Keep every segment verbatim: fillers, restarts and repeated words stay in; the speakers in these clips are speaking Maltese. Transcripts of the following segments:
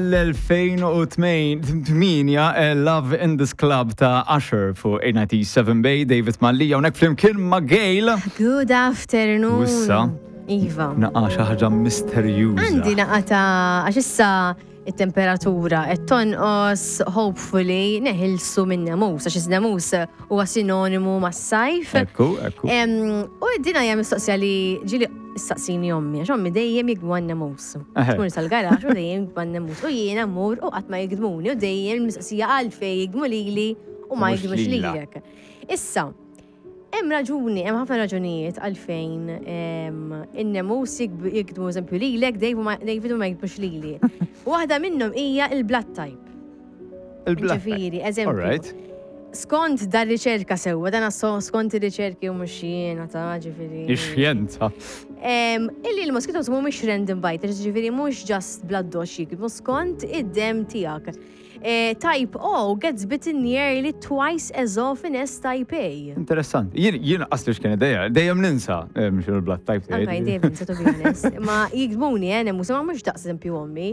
L-elfejn u tmienja, eh, Love in This Club ta' Usher fuq eight ninety-seven Bay, David Mallia, hawnhekk flimkien ma' Gail. Good afternoon. U issa? Iva. Naqa xi ħaġa misterjuża. Għandi naqa ta' għax issa it-temperatura qed tonqos, hopefully neħilsu minn nemus, għax is-nemus huwa sinonimu mas-sajf. Ekku, ekku. Em, U dina hija mistoqsija li ġieli ssaqsini ommi, għax ommi dejjem jigdmu għan-nemus. Eħe. Tmur sal-garaxx u dejjem jigdmu għan-nemus. U jiena mmur u qatt ma jigdmuni u dejjem mistoqsija għalfejn jigdmu lili u ma Mhux jigdmux lila. lilek. Issa, hemm raġuni, hemm ħafna raġunijiet għalfejn em, in-nemus jigb- jigdmu, eżempju, lilek, David ma- David u ma jigdmux lili. Waħda minnhom hija il-blood type. Il-blood type. Ġifieri, eżempju. Alright. Skont dar riċerka sewwa, dan so skont ir-riċerki u mhux jiena ta', ġifieri. Ix-xjenza. Em, Illi l-mosquitoes mhumiex random biters, ġifieri mhux just blood dox jigdmu, skont id-dem tiegħek. Eh, Type O gets bitten nearly twice as often as type A. Interessanti. Jien jien qasli x'kien dejjem, dejjem ninsa eh, mhux il-blood type Anka tiegħi. dejjem ninsa, to be honest. Ma jigdmuni, eh, nemus, ma mhux daqs eżempju ommi.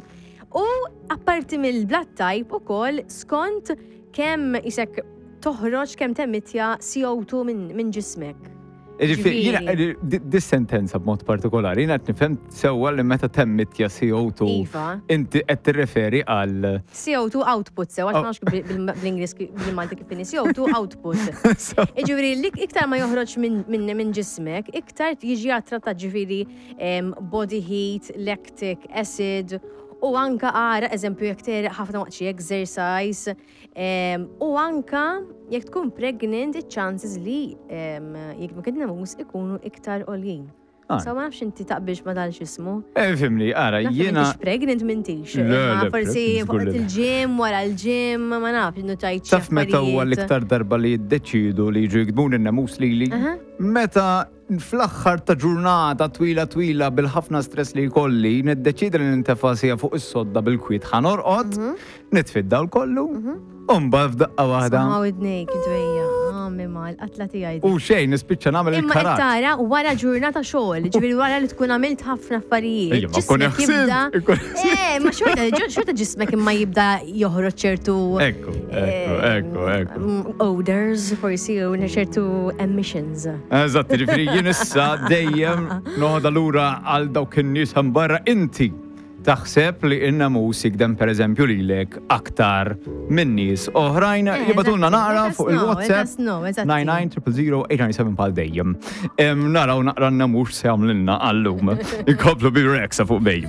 U apparti mill-blood type ukoll skont kemm isek toħroġ, kemm temmittja C O two minn min ġismek. Ġifieri, jiena Ġifieri. di- dis sentenza b'mod partikolari, jiena qed nifhem sewwa li meta temmittja C O two Iva. inti qed tirreferi għal C O two output sew, għax Oh. ma nafx bil- bil- bl-Ingliż bil-Malti kif inhi C O two output. So- Ġifieri, li iktar ma joħroġ minn min, min ġismek, iktar jiġi attrattat, ġifieri em, body heat, lactic acid, u anka għara, eżempju, jekk tegħreq ħafna waqt xi exercise, em, u anka jekk tkun pregnant, il-chances li em, jigdmuk in-nemus ikunu iktar għoljin. Ah. So ma nafx inti taqbilx ma dal x'ismu. Eh, fimni, ara, Naf li jiena. m'intix pregnant, m'intix. Le, Imma le, forsi pregnant, żgur waqt li le. il-gym, wara l-gym, ma nafx, notajt xi Taf meta huwa affarijiet. l-iktar darba li jiddeċidu li jiġu jigdmuni n-nemus lili? Aha. Meta fl-aħħar ta' ġurnata twila twila bil-ħafna stress li jkolli, niddeċidi li nintefa' sija fuq is-sodda bil-kwiet ħa norqod, Mhm. nitfi d-dawl kollu, u mbagħad f'daqqa waħda. Sama widnejk, dwejja, għammi mal, qatla tiegħi. U xejn, nispiċċa nagħmel Imma qed il-karat. tara wara ġurnata xogħol, ġifieri wara li tkun għamilt ħafna affarijiet. Ejja, ma kun Ġismek jibda. ħsibt, ikun ħsibt. Eh, ma xorta, xorta ġismek imma jibda joħroġ ċertu Ekku, ekku, ekku, ekku. mm, odors, forsi, u ċertu emissions. Eżatt, ġifieri jien issa dejjem noħodha lura għal dawk in-nies hemm barra: inti taħseb li in-namus jigdem, per eżempju, lilek aktar minn nies oħrajn? Eh, Jibagħtulna eżatti. naqra Let us fuq know, il-WhatsApp let us know, eżatti. nine nine zero zero zero eight nine seven bħal dejjem. Em, Naraw naqra n-namus se jagħmlilna għallum. Ikomplu bi Rexa fuq Bay.